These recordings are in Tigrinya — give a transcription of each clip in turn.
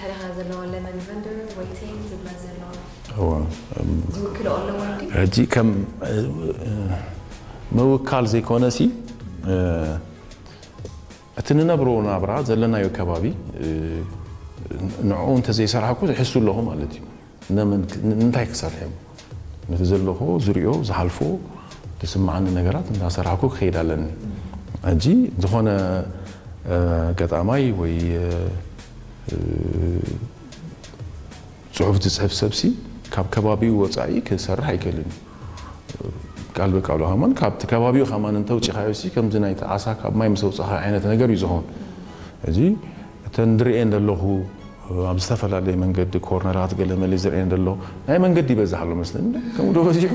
ሓደኻ ዘለዎ lemon vendor waiting ዝብላ ዘለዋ እዋ ዝውክልኦ ኣለዎ እንዲ ሕጂ ከም እ፣ እ፣ ምውካል ዘይኮነሲ እ፣ እቲ ንነብሮ ናብራ ዘለናዮ ከባቢ እ፣ ንዕኡ እንተዘይሰራሕኩ ይሕሱ ኣለኹ ማለት እዩ። ነመን ክ- ን- እንታይ ክሰርሕ እየ? ነቲ ዘለኹ ዝሪኦ ዝሓልፎ ዝስምዓኒ ነገራት እንዳሰራሕኩ ክኸይድ ኣለኒ። ሕጂ ዝኾነ እ፣ ገጣማይ ወይ እ፣ እ፣ ጽሑፍ ዝጽሕፍ ሰብሲ ካብ ከባቢኡ ወጻኢ ክሰርሕ ኣይክእልን እዩ። ቃል ብቃሉ ከማን ካብቲ ከባቢኡ ከማን እንተውፂኻዮ ሲ ከምዚ ናይቲ ዓሳ ካብ ማይ ምስ ኣውፃኻ ዓይነት ነገር እዩ ዝኾን። እዚ እተን ዝርእየን ዘለኹ ኣብ ዝተፈላለየ መንገዲ ኮርነራት ገለ መለ ዝርእየን ዘሎ ናይ መንገዲ ይበዝሕ ኣሎ መስለኒ። ከምኡ ዶ በዚሑ?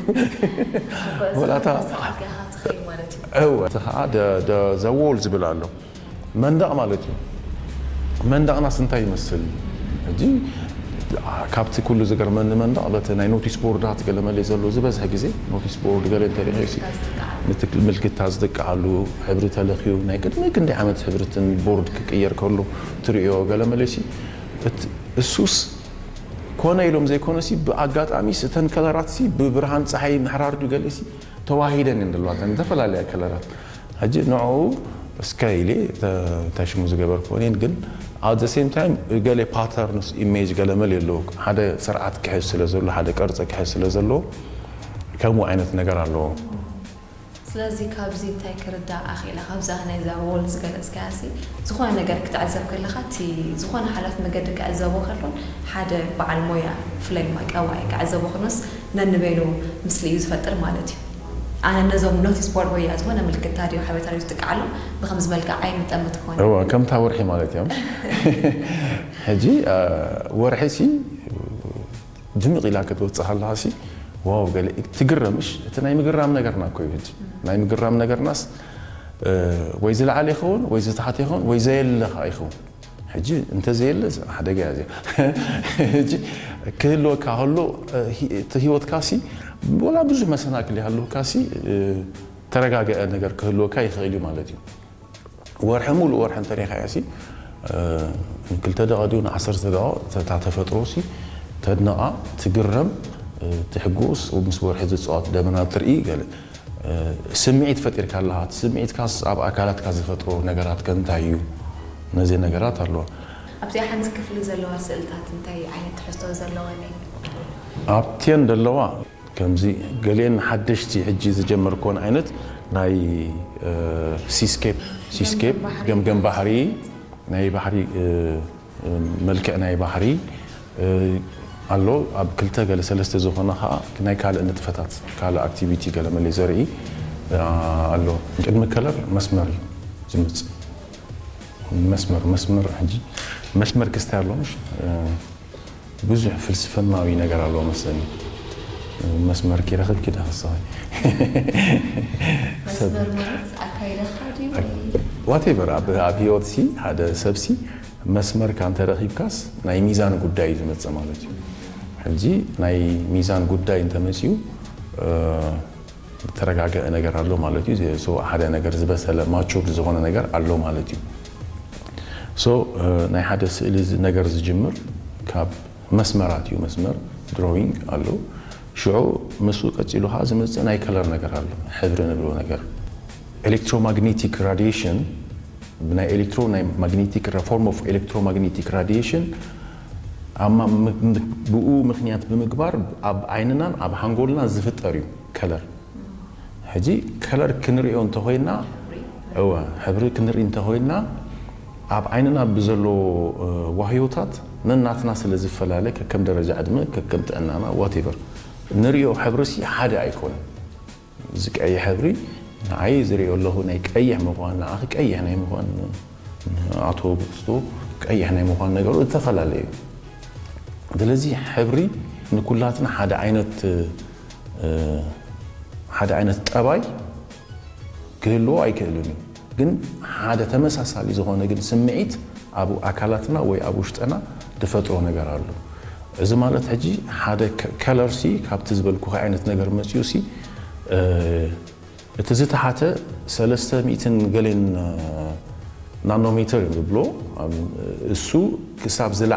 ወላታ ሰዓት ኢኻ ትኸይድ ማለት እዩ እወ እቲ ከዓ ዘዎል ዝብል ኣሎ መንደቕ ማለት እዩ። መንደቕናስ እንታይ ይመስል? ሕጂ ካብቲ ኩሉ ዝገርመኒ መንደቕ በቲ ናይ ኖቲስ ቦርዳት ገለ መለ ዘሎ ዝበዝሐ ግዜ ኖቲስ ቦርድ ገለ እንተሪኦ ሲ ምልክታ ዝጥቃዓሉ ሕብሪ ተለኽዩ ናይ ቅድሚ ክንደይ ዓመት ሕብርትን ቦርድ ክቅየር ከሎ ትሪኦ ገለ መለ ሲ እት- እሱስ ኮነ ኢሎም ዘይኮነ ሲ ብኣጋጣሚ ሲ እተን ከለራት ሲ ብብርሃን ፀሓይ ምሕራር ድዩ ገለ ሲ ተዋሂደን እየን ዘለዋ እተን ዝተፈላለያ ከለራት ሕጂ ንዕኡ እስከ ኢለ ተ- ተሽሙ ዝገበርክዎ እኔን ግን at the same time ገለ patterns image ገለ መል የለዎ ሓደ ስርዓት ክሕዝ ስለ ዘሎ ሓደ ቅርፂ ክሕዝ ስለ ዘለዎ ከምኡ ዓይነት ነገር ኣለዎ ስለዚ ካብዚ እንታይ ክርዳእ ኣኽኢለ ካብዛ ናይዛ ዎል ዝገለፅካያ ሲ ዝኾነ ነገር ክትዕዘብ ከለኻ እቲ ዝኾነ ሓላፍ መገዲ ክዕዘቦ ከሎን ሓደ በዓል ሞያ ብፍላይ ድማ ቀዋይ ክዕዘቦ ከሎስ ነንበይኑ ምስሊ እዩ ዝፈጥር ማለት እዩ ኣነ ነዞም ኖቲስ ቦርድ ወያ ዝኾነ ምልክታ ድዮ ሓበሬታ ድዮ ዝጥቀዓሎም ብከምዚ መልክዕ ኣይምጠምት ክኾነ እወ ከምታ ወርሒ ማለት እዮም ሕጂ ወርሒ ሲ ድምቕ ኢላ ክትወፅእ ከለካ ሲ ዋው ገለ ትግረምሽ እቲ ናይ ምግራም ነገርና እኮ እዩ ሕጂ ናይ ምግራም ነገርናስ ወይ ዝለዓለ ይኸውን ወይ ዝተሓተ ይኸውን ወይ ዘየለኻ ይኸውን ሕጂ እንተዘየለ ሓደጋ እያ እዚኣ ሕጂ ክህልወካ ከሎ እቲ ህይወትካ ሲ ወላ ብዙሕ መሰናክል ይሃልወካ ሲ ተረጋገአ ነገር ክህልወካ ይኽእል እዩ ማለት እዩ ወርሒ ሙሉእ ወርሒ እንተሪኻያ ሲ ንክልተ ደቐ ድዩ ንዓሰርተ ደቐ እታ ተፈጥሮ ሲ ተድንቓ ትግረም ትሕጎስ ምስ ወርሒ ዝፅዋት ደመና ትርኢ ገለ ስምዒት ፈጢርካ ኣለኻ እቲ ስምዒትካስ ኣብ ኣካላትካ ዝፈጥሮ ነገራት ከ እንታይ እዩ ነዚ ነገራት ኣለዋ ኣብዚኣ ሓንቲ ክፍሊ ዘለዋ ስእልታት እንታይ ዓይነት ትሕዝቶ ዘለወን እየን ኣብቲየን ዘለዋ ከምዚ ገሊአን ሓደሽቲ ሕጂ ዝጀመርክወን ዓይነት ናይ ሲስኬፕ ሲስኬፕ ገምገም ባሕሪ ናይ ባሕሪ መልክዕ ናይ ባሕሪ ኣሎ ኣብ ክልተ ገለ ሰለስተ ዝኾነ ከዓ ናይ ካልእ ንጥፈታት ካልእ ኣክቲቪቲ ገለ መለ ዘርኢ ኣሎ ቅድሚ ከለር መስመር እዩ ዝመፅእ መስመር መስመር ሕጂ መስመር ክስታይ ኣሎ ምሽ ብዙሕ ፍልስፍናዊ ነገር ኣለዎ መስለኒ መስመር ኪረኽብ ኪዳ ክስኸ መስመር ማለት ኣካይዳኻ ድዩ ወይ ዋቴቨር ኣብ ኣብ ህይወት ሲ ሓደ ሰብ ሲ መስመር ካ እንተረኺብካስ ናይ ሚዛን ጉዳይ እዩ ዝመፅእ ማለት እዩ ሕጂ ናይ ሚዛን ጉዳይ እንተመፅኡ ተረጋገአ ነገር ኣሎ ማለት እዩ ሓደ ነገር ዝበሰለ ማቹርድ ዝኾነ ነገር ኣሎ ማለት እዩ so ናይ ሓደ ስእሊ ነገር ዝጅምር ካብ መስመራት እዩ መስመር ድሮዊንግ ኣሎ ሽዑ ምስኡ ቀፂሉ ከዓ ዝመፅእ ናይ ከለር ነገር ኣሎ ሕብሪ ንብሎ ነገር ኤሌክትሮማግኔቲክ ራዲሽን ብናይ ኤሌክትሮ ናይ ማግኔቲክ form of electromagnetic radiation ብኡ ምክንያት ብምግባር ኣብ ዓይንናን ኣብ ሓንጎልና ዝፍጠር እዩ ከለር ሕጂ ከለር ክንሪኦ እንተኮይና እወ ሕብሪ ክንርኢ እንተኮይና ኣብ ዓይንና ብዘሎ ዋህዮታት ነናትና ስለ ዝፈላለ ከከም ደረጃ ዕድመ ከከም ጥዕናና ዋቴቨር ንሪኦ ሕብሪ ሲ ሓደ ኣይኮነን እዚ ቀይሕ ሕብሪ ንዓይ ዝሪኦ ኣለኹ ናይ ቀይሕ ምኳን ንዓኺ ቀይሕ ናይ ምኳን ኣቶ ብክስቱ ቀይሕ ናይ ምኳን ነገሩ ዝተፈላለየ እዩ ስለዚ ሕብሪ ንኩላትና ሓደ ዓይነት ሓደ ዓይነት ጠባይ ክህልዎ ኣይክእልን እዩ ግን ሓደ ተመሳሳሊ ዝኾነ ግን ስምዒት ኣብ ኣካላትና ወይ ኣብ ውሽጥና ዝፈጥሮ ነገር ኣሎ እዚ ማለት ሕጂ ሓደ ከለርሲ ካብቲ ዝበልኩ ዓይነት ነገር መፅኡ ሲ እቲ ዝተሓተ ሰለስተ ሚእትን ገሌን ናኖሜተር እዩ ዝብሎ እሱ ክሳብ ዝለ